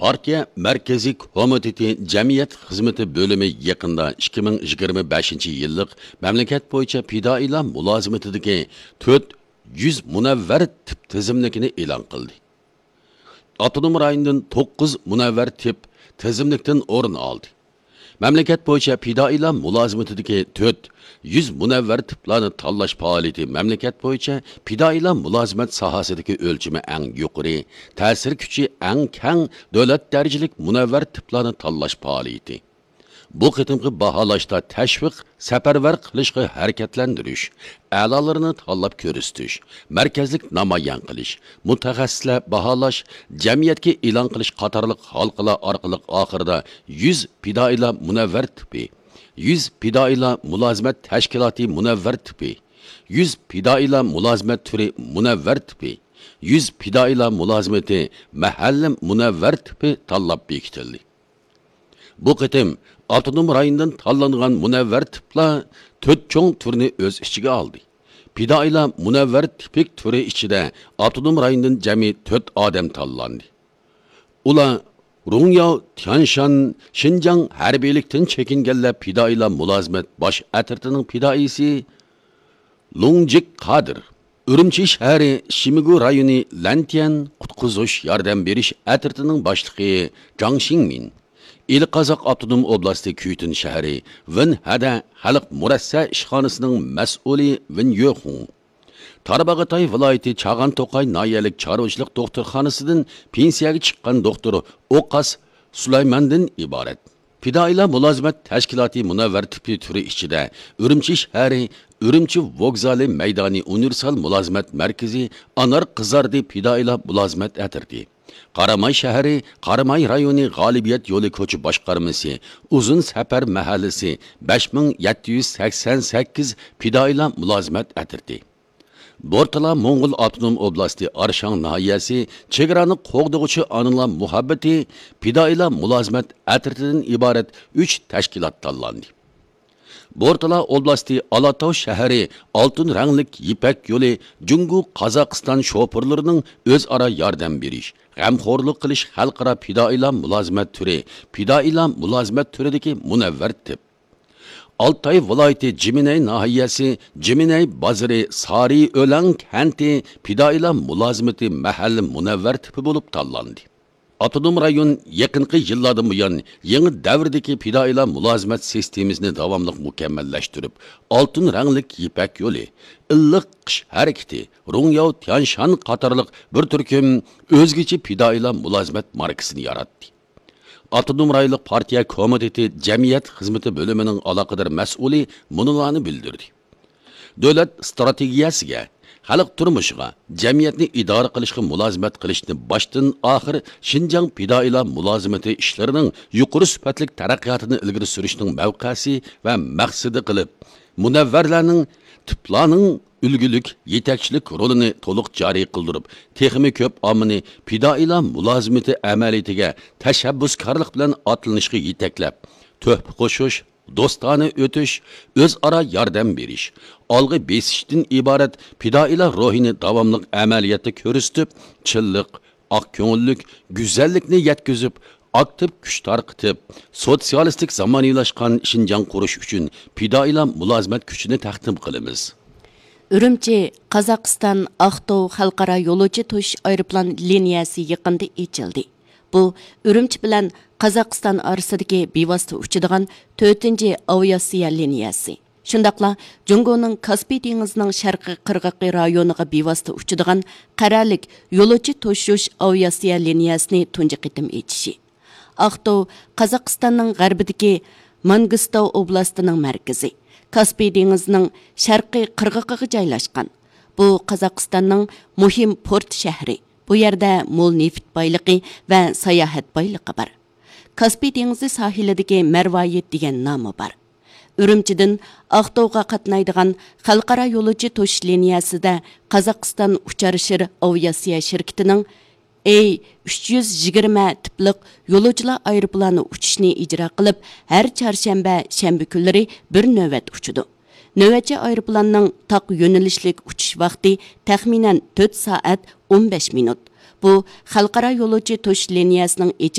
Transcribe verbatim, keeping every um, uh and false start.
پارتىيە مەركىزىي كومىتېتى جەمئىيەت خىزمىتى بۆلۈمى يېقىندا ئىككى مىڭ يىگىرمە بەشىنچى يىللىق مەملىكەت بويىچە پىدائىيلار مۇلازىمىتىدىكى تۆت يۈز مۇنەۋۋەر تىپ تىزىملىكىنى ئېلان قىلدى. ئاپتونوم رايوندىن توققۇز مۇنەۋۋەر تىپ تىزىملىكتىن ئورۇن ئالدى. مەملىكەت بويىچە پىدائىيلار مۇلازىمىتىدىكى تۆت يۈز مۇنەۋۋەر تىپلارنى تاللاش پائالىيىتى مەملىكەت بويىچە پىدائىيلار مۇلازىمەت ساھەسىدىكى ئۆلچىمى ئەڭ يۇقىرى، تەسىر كۈچى ئەڭ كەڭ دۆلەت دەرىجىلىك مۇنەۋۋەر تىپلارنى تاللاش پائالىيىتى. بۇ قېتىمقى باھالاشتا تەشۋىق، سەپەرۋەر قىلىشقا ھەرىكەتلەندۈرۈش، ئەلالىرىنى تاللاپ كۆرسىتىش، مەركەزلىك نامايان قىلىش، مۇتەخەسسىسلەر باھالاش، جەمئىيەتكە ئېلان قىلىش قاتارلىق ھالقىلار ئارقىلىق ئاخىرىدا يۈز پىدائىيلار مۇنەۋۋەر تىپى، يۈز پىدائىيلار مۇلازىمەت تەشكىلاتى مۇنەۋۋەر تىپى، يۈز پىدائىيلار مۇلازىمەت تۈرى مۇنەۋۋەر تىپى، يۈز پىدائىيلار مۇلازىمىتى مەھەللە مۇنەۋۋەر تىپى تاللاپ بېكىتىلدى. بۇ قېتىم ئاپتونوم رايوندىن تاللانغان مۇنەۋۋەر تىپلار تۆت چوڭ تۈرنى ئۆز ئىچىگە ئالدى. پىدائىيلار مۇنەۋۋەر تىپىك تۈرى ئىچىدە ئاپتونوم رايوندىن جەمئىي تۆت ئادەم تاللاندى. ئۇلار رۇڭياۋ تيانشان، شىنجاڭ ھەربىيلىكتىن چېكىنگەنلەر پىدائىيلار مۇلازىمەت باش ئەترىتىنىڭ پىدائىيسى لۇڭجىك قادىر، ئۈرۈمچى شەھىرى شىمىگۇ رايونى لەنتيەن قۇتقۇزۇش ياردەم بېرىش ئەترىتىنىڭ باشلىقى جاڭ شىڭمىن، ئىلى قازاق ئاپتونوم ئوبلاستى كۈيتۈن شەھىرى ۋېنھەدە خەلق مۇرەسسە ئىشخانىسىنىڭ مەسئۇلى ۋېن يۆخۇڭ، تارباغاتاي ۋىلايىتى چاغان توقاي ناھىيەلىك چارۋىچىلىق دوختۇرخانىسىدىن پېنسىيەگە چىققان دوختۇر ئوقاس سۇلايماندىن ئىبارەت. پىدائىيلار مۇلازىمەت تەشكىلاتى مۇنەۋۋەر تىپى تۈرى ئىچىدە ئۈرۈمچى شەھىرى ئۈرۈمچى ۋوگزالى مەيدانى ئۇنىۋېرسال مۇلازىمەت مەركىزى ئانار قىزاردى پىدائىيلار مۇلازىمەت ئەترىتى، قاراماي شەھىرى قاراماي رايونى غالىبىيەت يولى كوچا باشقارمىسى ئۇزۇن سەپەر مەھەللىسى بەش مىڭ يەتتە يۈز سەكسەن سەككىز پىدائىيلار مۇلازىمەت ئەترىتى، بورتالا موڭغۇل ئاپتونوم ئوبلاستى ئارشاڭ ناھىيەسى چېگرانى قوغدىغۇچى ئانىلار مۇھەببىتى پىدائىيلار مۇلازىمەت ئەترىتىدىن ئىبارەت ئۈچ تەشكىلات تاللاندى. بورتالا ئوبلاستى ئالاتاۋ شەھىرى ئالتۇن رەڭلىك يىپەك يولى جۇڭگو قازاقىستان شوپۇرلىرىنىڭ ئۆزئارا ياردەم بېرىش، غەمخورلۇق قىلىش خەلقئارا پىدائىيلار مۇلازىمەت تۈرى پىدائىيلار مۇلازىمەت تۈرىدىكى مۇنەۋۋەر تىپ. ئالتاي ۋىلايىتى جىمىنەي ناھىيەسى جىمىنەي بازىرى سارى ئۆلەڭ كەنتى پىدائىيلار مۇلازىمىتى مەھەللە مۇنەۋۋەر تىپى بولۇپ تاللاندى. ئاپتونوم رايون يېقىنقى يىللاردىن بۇيان يېڭى دەۋردىكى پىدائىيلار مۇلازىمەت سىستېمىسىنى داۋاملىق مۇكەممەللەشتۈرۈپ، ئالتۇن رەڭلىك يىپەك يولى، ئىللىق قىش ھەرىكىتى، رۇڭياۋ تيانشان قاتارلىق بىر تۈركۈم ئۆزگىچە پىدائىيلار مۇلازىمەت ماركىسىنى ياراتتى. ئاپتونوم رايونلۇق پارتىيە كومىتېتى جەمئىيەت خىزمىتى بۆلۈمىنىڭ ئالاقىدار مەسئۇلى مۇنۇلارنى بىلدۈردى. دۆلەت ئىستراتېگىيەسىگە، خەلق تۇرمۇشىغا، جەمئىيەتنى ئىدارە قىلىشقا مۇلازىمەت قىلىشنى باشتىن ئاخىر شىنجاڭ پىدائىيلار مۇلازىمىتى ئىشلىرىنىڭ يۇقىرى سۈپەتلىك تەرەققىياتىنى ئىلگىرى سۈرۈشنىڭ مەۋقەسى ۋە مەقسىتى قىلىپ، مۇنەۋۋەرلەرنىڭ، تىپلارنىڭ ئۈلگىلىك يېتەكچىلىك رولىنى تولۇق جارى قىلدۇرۇپ، تېخىمۇ كۆپ ئاممىنى پىدائىيلار مۇلازىمىتى ئەمەلىيىتىگە تەشەببۇسكارلىق بىلەن ئاتلىنىشقا يېتەكلەپ، تۆھپە قوشۇش، دوستانە ئۆتۈش، ئۆزئارا ياردەم بېرىش، ئالغا بېسىشتىن ئىبارەت پىدائىيلار روھىنى داۋاملىق ئەمەلىيەتتە كۆرسىتىپ، چىنلىق، ئاق كۆڭۈللۈك، گۈزەللىكنى يەتكۈزۈپ، ئاكتىپ كۈچ تارقىتىپ، سوتسىيالىستىك زامانىۋىلاشقان شىنجاڭ قۇرۇش ئۈچۈن پىدائىيلار مۇلازىمەت كۈچىنى تەقدىم قىلىمىز. ئۈرۈمچى، قازاقىستان، ئاقتاۋ خەلقئارا يولۇچى توشۇش ئايروپىلان لىنىيەسى يېقىندا ئېچىلدى. بۇ ئۈرۈمچى بىلەن قازاقىستان ئارىسىدىكى بىۋاسىتە ئۇچىدىغان تۆتىنچى ئاۋىئاتسىيە لىنىيەسى. شۇنداقلا جۇڭگونىڭ كاسپىي دېڭىزىنىڭ شەرقىي قىرغىقى رايونىغا بىۋاسىتە ئۇچىدىغان قەرەللىك يولۇچى توشۇش ئاۋىئاتسىيە لىنىيەسىنى تۇنجى قېتىم ئېچىشى. ئاقتاۋ قازاقىستاننىڭ غەربىدىكى مانگىستاۋ ئوبلاستىنىڭ مەركىزى، كاسپىي دېڭىزىنىڭ شەرقىي قىرغىقىغا جايلاشقان. بۇ قازاقىستاننىڭ مۇھىم پورت شەھىرى. بۇ يەردە مول نېفىت بايلىقى ۋە ساياھەت بايلىقى بار. كاسپىي دېڭىزى ساھىلىدىكى مەرۋايىت دېگەن نامى بار. ئۈرۈمچىدىن ئاقتاۋغا قاتنايدىغان خەلقئارا يولۇچى توشۇش لىنىيەسىدە قازاقىستان ئۇچار شىر ئاۋىئاتسىيە شىركىتىنىڭ ئېي ئۈچ يۈز يىگىرمە تىپلىق يولۇچىلار ئايروپىلانى ئۇچۇشنى ئىجرا قىلىپ، ھەر چارشەنبە، شەنبە كۈنلىرى بىر نۆۋەت ئۇچىدۇ. نۆۋەتچى ئايروپىلاننىڭ تاق يۆنىلىشلىك ئۇچۇش ۋاقتى تەخمىنەن تۆت سائەت ئون بەش مىنۇت. بۇ خەلقئارا يولۇچى توشۇش لىنىيەسىنىڭ ئېچىلىش